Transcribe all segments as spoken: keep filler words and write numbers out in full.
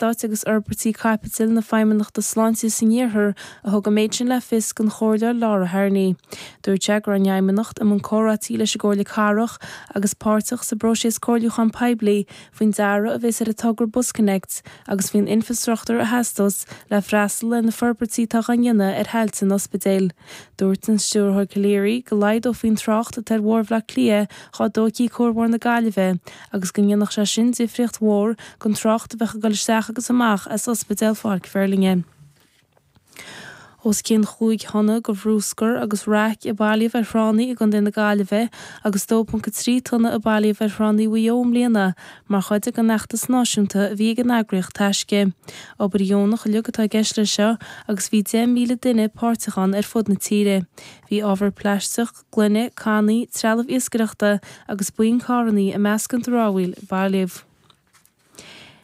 Eastáit agus Fhorbairtí Caipitil na Feidhmeannachta Sláinte san Iarthar a thug an méid sin le fios don Chomhairleoir Laura Harney. Dúirt sé go raibh an Fheidhmeannacht i mbun comhráití leis an gComhairle Cathrach agus páirteach sa bpróiseas comhairliúcháin poiblí faoin dearadh a bheas ar an togra BusConnects agus faoin infreastruchtúr a theastós le freastal ar na forbairtí atá á ndéanamh ar thailte an ospidéil. Dúirt an Stiúrthóir Calleary go laghdófaí an trácht atá ar Bhóthar Bhaile Átha Cliath dá dtógfaí Cuarbhóthar na Gaillimhe agus go ndéanfadh sé sin difríocht mhór don trácht a bheadh ag dul isteach agus amach as Ospidéal Pháirc Feirlinge. Os cionn chúig thonna de bhruscar agus raic a bailíodh ar thránna i gContae na Gaillimhe agus dó ponc a trí tonna a bailíodh ar thránna Mhaigh Eo i mbliana mar chuid den fheachtas náisiúnta a bhí ag an eagraíocht Taisce. Obair dheonach uilig atá i gceist leis seo agus bhí deich míle duine páirteach ann ar fud na tíre. Bhí ábhar plaisteach, gloine, cannaí, trealamh iascaireachta agus boinn carranna i measc an dramhaíl a bailíodh.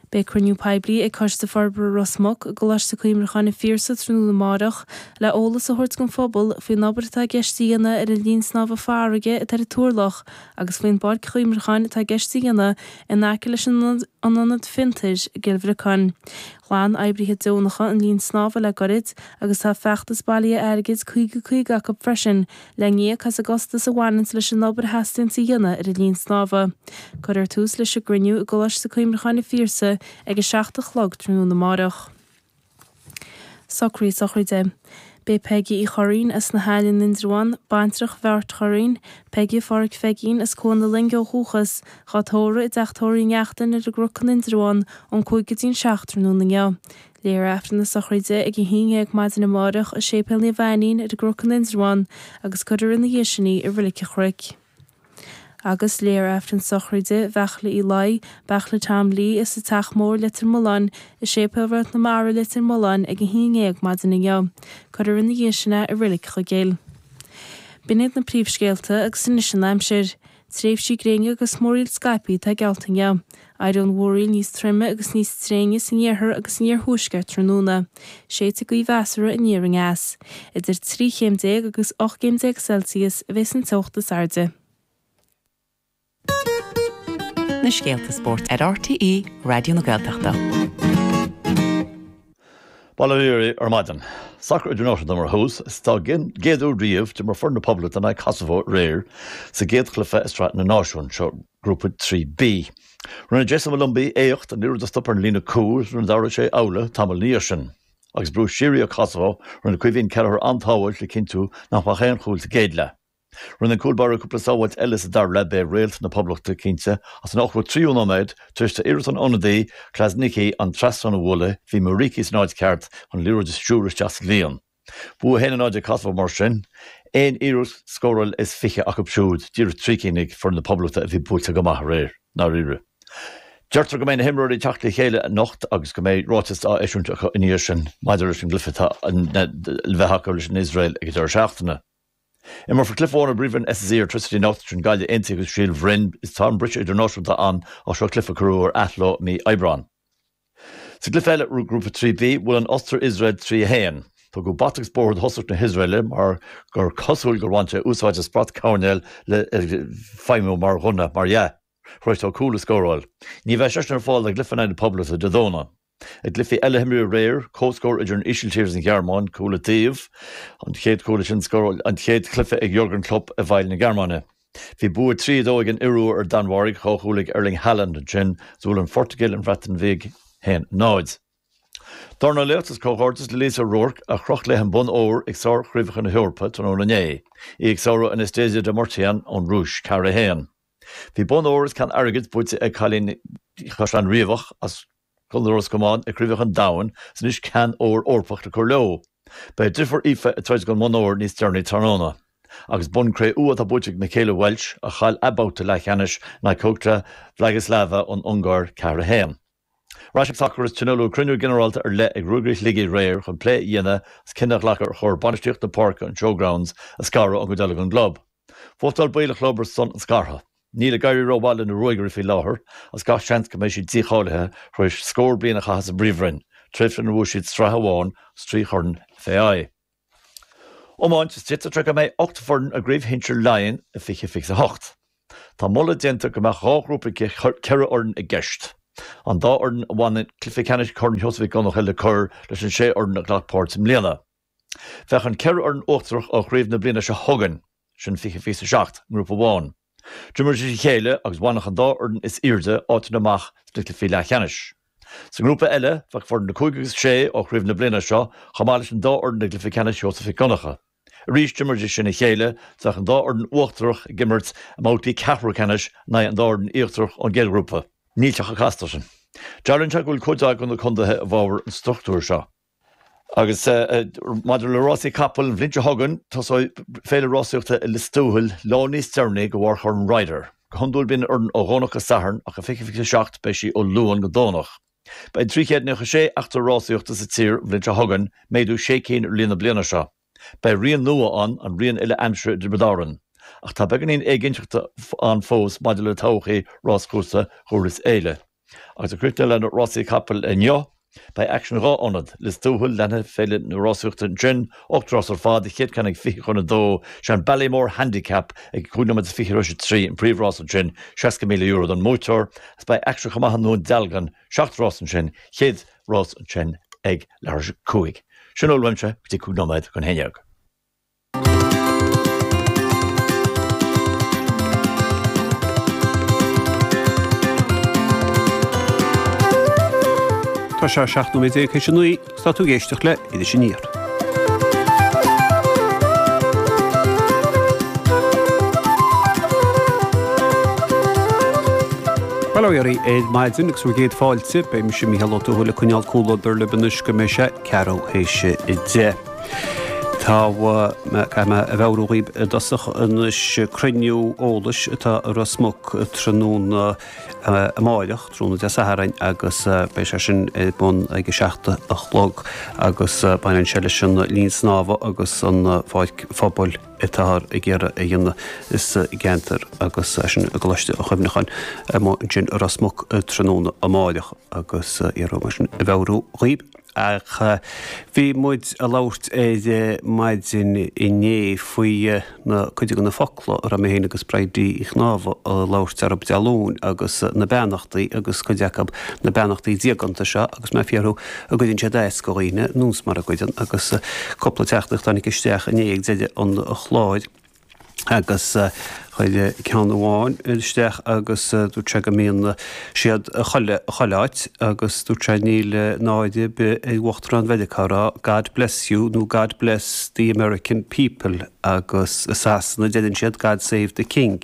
Beidh cruinniú poiblí ag Coiste Forbartha Ros Muc i gColáiste Cuimhneacháin an Phiarsaigh tráthnóna amárach le eolas a thabhairt don phobal faoin obair atá i gceist a dhéanamh ar an linn snámha farraige atá ar an Turlach agus faoin bpáirc chuimhneacháin atá i gceist a dhéanamh in aice leis an ionad fiontair i gCill Bhriocáin. Ghlan oibrithe deonacha an linn snámha le gairid agus tá feachtas bailithe airgid caoga caoga acu freisin le n-íoc as an gcostas a bhaineanns leis an obair a theastaíonns a dhéanamh ar an linn snámha. Cuirfear tús leis an gcruinniú i gColáiste Cuimhneacháin an Phiarsaigh ag a seacht a chlog tráthnóna amárach. Socruithe sochraide. Beidh Peigí Uí Churraoin as na hAille in Indreabhán, baintreach Bheáirt Churraoin, Peigí Pháraic Pheigín as Cuan na Loinge ó dhúchas, dhá tórramh i dteach tórraimh Uí Neachtain ar an gCnoc in Indreabhán ón cúig go dtí an seacht tráthnóna inniu. Léifear Aifreann na sochraide ag a haon dhéag maidin amárach i Séipéal Naomh Ainnín ar an gCnoc in Indreabhán agus cuirfear ina dhiaidh sin í i Reilig an Chnoic. Agus léifear Aifreann sochraide Bheachla Uí Laoi, Beachla Tom Lee as an Teach Mór Leitir Mealláin, i Séipéal Réalt na Mara Leitir Mealláin ag a haon dhéag maidin inniu. Cuirfear ina dhiaidh sin é i Reilig Chuigéil. B'in iad na príomhscéalta agus anois an aimsir. Tréimhsí gréine agus múraíl scaipthe atá geallta inniu. Éireoidh an mhúraíl níos troime agus níos tréine san iarthar agus san iarthuaisceart tráthnóna. Séidfidh gaoth mheasartha aniar aneas. Idir trí chéim déag agus ocht gcéim déag Celsius a bheas an teocht is airde. Na scéalta spóirt ar RTÉ Raidió na Gaeltachta. Bail ó Dhia oraibh ar maidin. Sacar idirnáisiúnta mar thús, is don gcéad uair riamh d'imir foireann na Poblachta in aghaidh Kosovo aréir sa gcéad chluiche i Sraith na Náisiún, seo Grúpa trí B. Rinne Jayson Molumby éacht an liathróid a stop ar an líne cúil nuair a d'athraigh sé amhlaidh tamall ina dhiaidh sin. Agus brú síoraí ó Kosovo, rinne Caoimhín Kelleher an-tsábháilt le cinntiú nach mbeadh aon chúl sa gcéad leath. Rinne an cúl báire cúpla sábháilt eile sa dara leath, b'é réalt na Poblachta cinnte ach san ochtó tríú nóiméad, tar éis d'iarracht an ionadaí Krasniqi an trasnán a bhualadh, bhí Muriqi san áit cheart chun an liathróid a stiúradh isteach sa líon. Bua a haon a náid ag Kosovo mar sin, aon iarracht scóráil is fiche acu siúd, díreach trí cinn ag foireann na Poblachta a bhí buailte go maith aréir, ndáiríre. Deirtear go mbeidh na himreoirí ag teacht le chéile anocht agus go mbeidh ráiteas á eisiúint acu ina dhiaidh sin maidir leis an gcluiche atá le bheith acu leis an Iosrael ag an deireadh seachtaine. Imreofar cluiche amháin i bPríomhroinn SSE Airtricity anocht, sin Gaillimh Aontaithe agus Síol Bhroin. Is tá an briseadh idirnáisiúnta ann ach seo cluiche a cuireadh ar athló i mí Aibreáin. Sa gcluiche eile, Grúpa trí B, bhuail an Ostair Iosrael trí a haon. Tugadh bata agus bóthar do thosach na hIosraeile mar gur cosúil gur bhain sé úsáid as brat coirnéil le feidhmiú mar ghunna, mar dhea. Tar éis dó cúl a scóráil. Ní bheidh seisean ar fáil do chluiche in aghaidh na Poblachta Dé Domhnaigh. I gcluichí eile a himríodh aréir, comhscór idir an Ísiltír agus an Ghearmáin, cúl an taobh, an chéad chúl sin scóráil, an chéad chluiche ag Jurgen Klopp i bhfeighil na Gearmáine. Bhí bua trí a dó ag an Iorua ar an Danmhairg, dhá chúl ag Erling Haaland ansin, is bhuail an Phortaingéil an Bhreatain Bheag haon náid. Dornálaíocht is comhghairdeas le Lisa O'Rourke a chroch léi an bonn óir ag Sár-Chraobhacha na hEorpa tráthnóna inné, í ag sárú Anastasia Demirchian ón Rúis, ceathair a haon. Bhí bonn óir is ceann airgid buaite ag cailín Chaisleán Riabhach as Contae Ros Comáin ag Craobhacha an Domhain is anois ceann óir Eorpach le cur leo. Beidh a deirfiúr Aoife ag troid don mbonn óir níos deireanaí tráthnóna. Agus bonn cré-umha atá buaite ag Michaela Walsh a chaill a babhta leathcheannais in aghaidh Kocsa Vladislava ón Ungáir ceathair a haon. Ar ais ag sacar is tionóladh cruinniú ginearálta ar leith ag Ruagairí Shligigh aréir chun plé a dhéanamh is cinneadh a ghlacadh ar chóir bainistíocht na páirce an Showgrounds a scaradh ón gcuid eile den gclub. Vótáil baill an chlub ar son an scartha. Níl ag éirí rómhaith le na Ruagairí faoi láthair agus gach seans go mbeidh siad dícháilithe tar éis scór bliain a chaitheamh sa bPríomhroinn, tréimhse inar bhuaigh siad sraith amháin agus trí chorn FAI. Iomáint, is d'fhéadfadh sé go mbeidh ocht bhfoireann i gCraobh Shinsir Laighean i fiche fiche a hocht. Tá moladh déanta go mbeadh dhá ghrúpa de cheithre fhoireann i gceist. An dá fhoireann a bhaineann cluiche ceannais Chorn Sheosaimh Mhic Dhonncha le cur leis an sé fhoireann a ghlac páirt i mbliana. Bheadh an ceithre fhoireann uachtarach ó chraobh na bliana seo chugainn, sin fiche fiche a seacht, i ngrúpa amháin. D'imreoidís a chéile agus bhainfeadh an dá fhoireann is airde áiteanna amach sna cluichí leathcheannais. Sa ngrúpa eile, bheadh foireann a cúig agus sé ó chraobh na bliana seo chomh maith leis an dá fhoireann i gcluiche ceannais Sheosaimh Mhic Dhonncha. Arís d'imreoidís sin a chéile, bheadh an dá fhoireann uachtarach ag imirt i mbabhtaí ceathrú ceannais in aghaidh an dá fhoireann íochtarach ón gcéad ghrúpa. Níl sé chomh casta sin. Dealraíonn sé go bhfuil cuid mhaith de na contaetha i bhfabhar an struchtúir seo. Agus maidir le rásaí capall, an bhliain seo chugainn, tosóidh féile rásaíochta i Lios Tuathail lá níos deireanaí de bharr Chorn Ryder. Go hiondúil bíonn an fhoireann ó Dhomhnach go Satharn ach i fiche fiche a seacht beidh sí ó Luan go Domhnach. Beidh trí chéad nócha sé eachtra rásaíochta sa tír an bhliain seo chugainn, méadú sé cinn ar líon na bliana seo. Beidh rian nua ann, an rian uile-aimsire i dTiobraid Árann. Ach tá beagáinín éiginnteachta ann fós maidir le todhchaí ráschúrsa Dhurlas Éile. Agus ag críochnú le rásaí capaill inniu, beidh aicsean dhá ionad, Lios Tuathail, leanfaidh Féile na Rásaíochta ansin, ocht rás ar fad, an chéad ceann ag fiche chun a dó, sé an Ballymore Handicap ag cúig nóiméad is fiche tar éis a trí, an príomhrás ansin, seasca míle euro don mbuaiteoir, agus beidh aicsean chomh maith i nDún Dealgan, seacht rás ansin, chéad rás ansin ag leathuair tar éis a cúig. Sin a bhfuil uaimse go dtí cúig nóiméad chun a haon déag. Tá sé seacht nóiméad déag théis a naoi agus tá tú ag éisteacht le Iris Aniar. Bail ó Dhia oraibh ar maidin agus bhur gcéad fáilte. Beidh mise Mícheál Ó Tuathail ag coinneáil comhluadar libh anois go mbeidh sé ceathrú théis a deich. Tá, caithfidh mé a mheabhrú dhaoibh i dtosach anois cruinniú eolais atá i Ros Muc tráthnóna amáireach, tráthnóna Dé Sathairn, agus beidh sé sin ar bun ag a seacht a chlog agus baineann sé leis an linn snámha agus an pháirc phobail atáthar ag iarraidh a dhéanamh sa gceantar agus é sin i gColáiste an Chuimhneacháin amuigh ansin i Ros Muc tráthnóna amáireach agus iarraidh mar sin a mheabhrú dhaoibh. Ach bhí muid ag labhairt ar maidin inné faoi na cuid de na focla a raibh mé féin agus Bridie Uí Chnámha ag labhairt orthu Dé Luain agus na beannachtaí agus cuid acu na beannachtaí diaganta seo agus mé ag fiafraí an gcuireann siad as do dhaoine nós mar a gcuireann agus cúpla teachtaireacht a tháinig isteach inné ag deireadh an chláir. Agus chuir ceann amháin isteach agus dúirt sé go mbíonn siad chuile chuile áit agus dúirt sé níl náire ar bith ar Uachtarán Mheiriceá a rá God bless you nó God bless the American people agus i Sasana deireann siad God save the king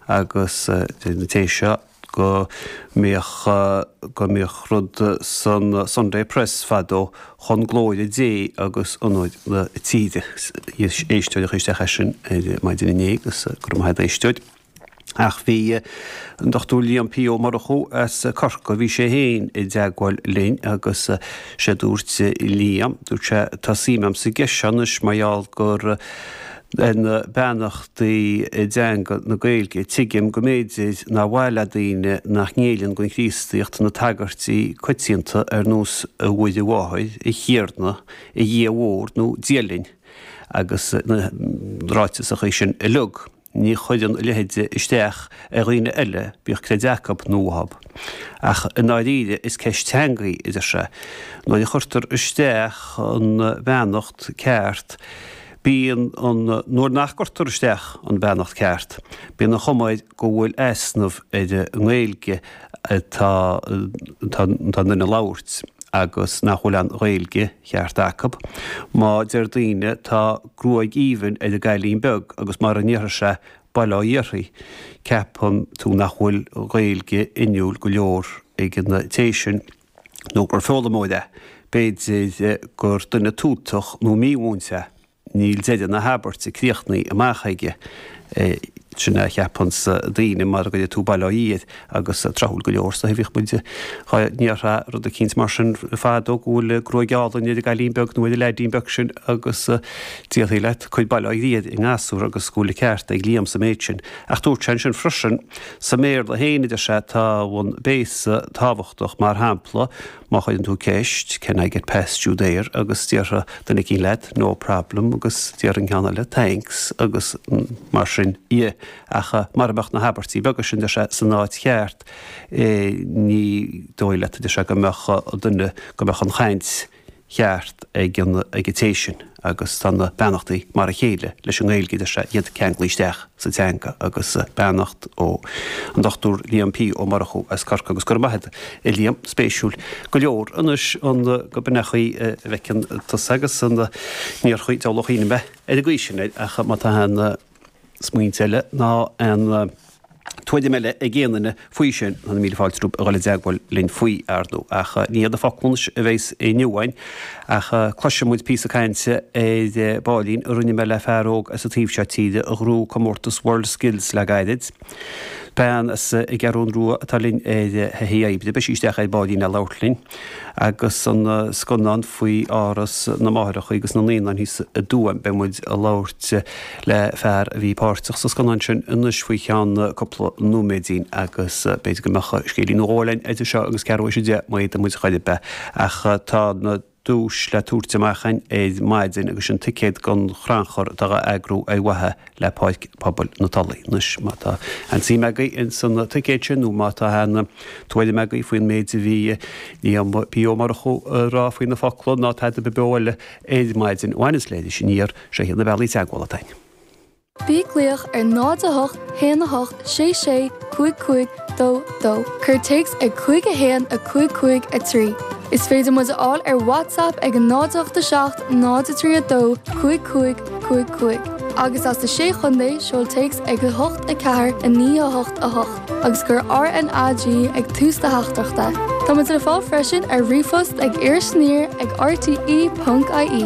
agus deir an té seo go mbíodh go mbíodh rud san Sunday Press fadó chun glóire Dé agus onóir na tíre. Éisteoir a chuir isteach é sin ar maidin inné agus go raibh maith agat a éisteoir. Ach bhí an Dochtúir Liam P. Ó Murchú as Corcaigh, bhí sé féin i dteagmháil linn agus sé dúirt Liam, dúirt sé, tá suim agam sa gceist seo anois mar gheall gur ar na beannachtaí i dteanga na Gaeilge. Tuigim go mb'fhéidir nár mhaith le daoine nach ngéilleann don Chríostaíocht na tagairtí coitianta ar nós 'A Mhuire Mháthair', 'A Thiarna', 'A Dhia Mhór' nó 'Dia linn' agus na ráiteasachaí sin uilig. Ní chuireann a leithéid isteach ar dhaoine eile, bíodh creideamh acu nó uathu. Ach i ndáiríre, is ceist teanga í, a deir sé. Nuair a chuirtear isteach an bheannacht ceart, Bíonn an, nuair nach gcuirtear isteach an bheannacht ceart, bíonn an chuma air go bhfuil easnamh ar an nGaeilge atá atá an duine ag labhairt agus nach bhfuil an Ghaeilge cheart acu. Má deir daoine tá gruaig aoibhinn ar an gcailín beag agus mara ndéarfaidh sé bail ó Dhia uirthi, ceapann tú nach bhfuil Gaeilge inniúil go leor ag an té sin. nó gur foghlaimeoir é, b'fhéidir gur duine tútach nó mímhúinte é, níl deireadh na habairte críochnaithe amach aige. Sin é a cheapanns daoine mara gcuirfidh tú bail ó Dhia air, agus tráthúil go leor, so bhíodh muid dhá ndéarfá rud eicínt mar sin fadó go bhfuil gruaig álainn ar an gcailín beag nó ar an leaidín beag sin agus déarfaí leat cuir bail ó Dhia ar an ngasúr agus go bhfuil an ceart ag Liam sa méid sin. Ach dúirt sé ansin freisin, sa mBéarla féin, a deir sé, tá an béasa tábhachtach, mar shampla, má chuireann tú ceist, can I get past you there? agus déarfaidh duine eicínt leat, no problem agus déarfaidh an ceann eile, thanks agus mar sin dhe. ach mura mbeadh na habairtí beaga sin, deir sé, san áit cheart, ní dóigh leat, a deir sé, go mbeadh duine, go mbeadh an chaint cheart ag an ag an té sin agus tá na beannachtaí mar a chéile leis an nGaeilge, deir sé, iad ceanglaithe isteach sa teanga agus beannacht ó an Dochtúir Liam P. Ó Murchú as Corcaigh agus go raibh maith agat a Liam, spéisiúil go leor anois an go b'in é an chaoi a bhfeiceann tusa agus an níor chaoi deabhal ó chuimhne mé ar an gcaoi sin air ach má tá aon smaointe eile ná aon tuairim eile ag aon duine faoi sin, tá na míle fáilte rompu a dhul i dteagmháil linn faoi, ar ndóigh. Ach ní hiad na focla anois a bheas inniu againn, ach cloisfidh muid píosa cainte ar baillín a rinne mé le fear óg as an taobh seo tíre a ghnóthaigh comórtas World Skills le gairid. Bean as an gCeathrún Rua atá linn ar thaithí oibre, beidh sí isteach ar baillín le labhairt linn. Agus an scannán faoi Áras na Máithreacha agus na Naíonán thíos i dTuaim, beidh muid ag labhairt le fear a bhí páirteach sa scannán sin anois faoi cheann cúpla nóiméidín agus b'fhéidir go mbeadh scéilín nó dhó eile idir seo agus ceathrú théis a deich má fhéadann muid chor ar bith. Ach tá na duais le tabhairt amach againn ar maidin agus sin ticéad don chrannchur atá á eagrú ar mhaithe le Páirc Pobail na Tulaí. Anois má tá aon suim agaibh ins an ticéad sin nó má tá aon tuairim agaibh faoin méid a bhí Liam P. Ó Murchú a rá faoi na focla ná tada ar bith eile ar maidin a bhaineas le Iris Aniar, seo iad na bealaí teagmhála atá againn. Bí ag glaoch ar náid a hocht haon a hocht sé sé cúig cúig dó dó. Cuir téacs ag cúig a haon a cúig cúig a trí. Is féidir muid a fháil ar WhatsApp ag a náid a hocht a seacht náid a trí a dó cúig cúig cúig cúig. Agus as na Sé Chontae, seol téacs ag a hocht a ceathair a naoi a hocht a hocht agus cuir R N A G ag tús do theachtaireachta. Tá muid le fáil freisin ar ríomhphost ag irisaniar ag R T E ponc I E.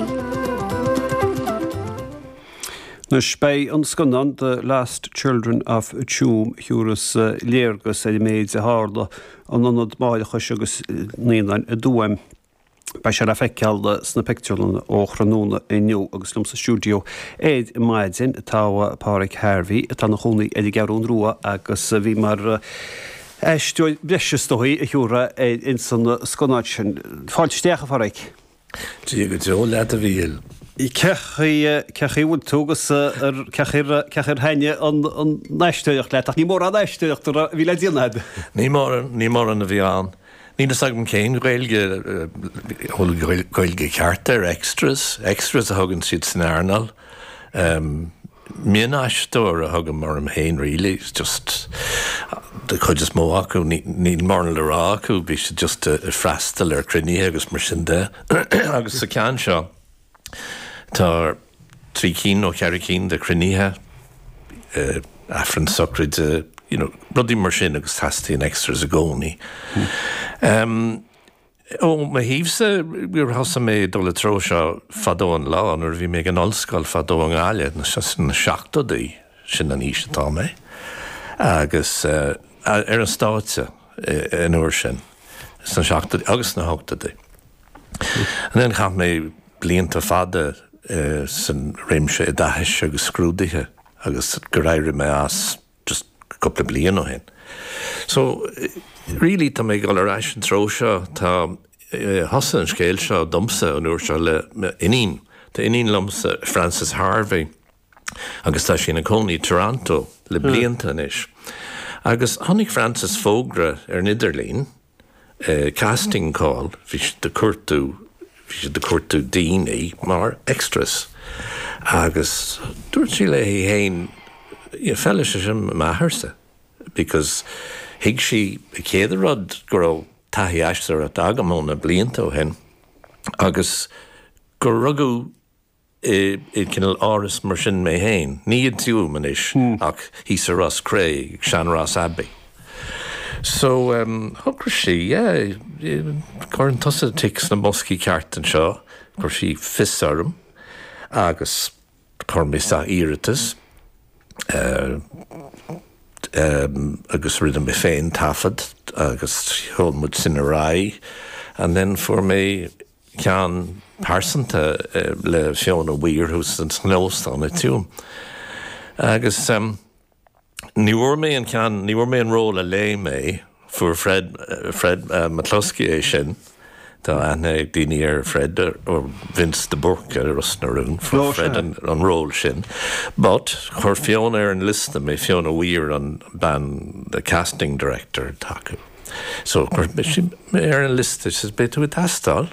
Anois beidh an scannán The Last Children of Tuam a thabharfas léargas ar an méid a tharla in ionad máithreachais agus naíonáin i dTuaim. Beidh sé le feiceáil sna pictiúrlanna ó thráthnóna inniu agus liom sa stiúideo ar maidin tá Páraic Harvey atá ina chónaí ar an gCeathrún Rua agus a bhí mar aisteoir breise is dóigh a thiúrfá ins an scannán sin. Fáilte isteach a Pháraic. Dia go deo leat a Mhíchíl. Cé chaoi bhfuil tú agus cé chaoi ar thaitnigh an aisteoireacht leat? Ach ní mórán aisteoireachta a bhí le déanamh agat. Ní mórán, ní mórán a bhí ann. Níl fhios agam cén Ghaeilge, bhfuil Gaeilge ceart ar extras, extras a thugann siad san earnáil. Mionaisteoir a thugaim orm féin really, just de chuid is mó acu, níl mórán le rá acu, bhí siad just ag freastal ar cruinnithe agus mar sin de. Agus sa ceann seo, tá trí cinn nó ceithre cinn de chruinnithe, aifreann sochraide, you know, rudaí mar sin agus teastaíonn extras i gcónaí. Um, ó mo thaobhsa, gur thosaigh mé dul i treo seo fadó an lá nuair a bhí mé ag an ollscoil fadó i nGaillimh, na seachtóidí, sin an aois atá mé, agus uh, ar an stáitse an uair sin, sna seachtóidí agus sna hochtóidí. And then chaith mé blianta fada uh, san réimse oideachais agus scrúduithe agus gur éirigh mé as just cúpla bliain ó shin. So really tá mé ag dul ar ais an treo seo tá thosaigh an scéal seo domsa an uair seo le iníon. Tá iníon liomsa Frances Harvey agus tá sí ina cónaí Toronto le blianta anois. Agus tháinig Frances fógra ar an idirlíon, uh, casting call, bhí siad ag cuartú bhí siad ag cuartú daoine mar extras. Agus dúirt sí léi féin feilfidh sé sin m'athairsa, because thuig sí an chéad rud go raibh taithí aisteoireachta agam ó na blianta ó shin agus gur rugadh i cineál áras mar sin mé féin, ní i dTuaim anois ach thíos i Ros Cré, Sean-Ross Abbey. So um, shocraigh sí, yeah, cuireann tusa tic sna boscaí ceart anseo, chuir sí fios orm agus chuir mé isteach iarratas uh, um, agus rinne mé féin taifead agus sheol muid sin ar aghaidh and then fuair mé ceann pearsanta uh, le Fiona Weir thuas san óstán i dTuaim. Agus um, ní bhfuair mé an ceann ní bhfuair mé an ról a léigh mé fuair Fred, Fred uh, McCluskey é sin Tá aithne ag daoine ar Fred or Vince de Burca ar Ros na Rún Fred an, an ról sin. But chuir Fiona ar an liosta mé Fiona Weir an bean the casting director atá acu. So chuir mé ar an liosta beidh tú ag teastáil,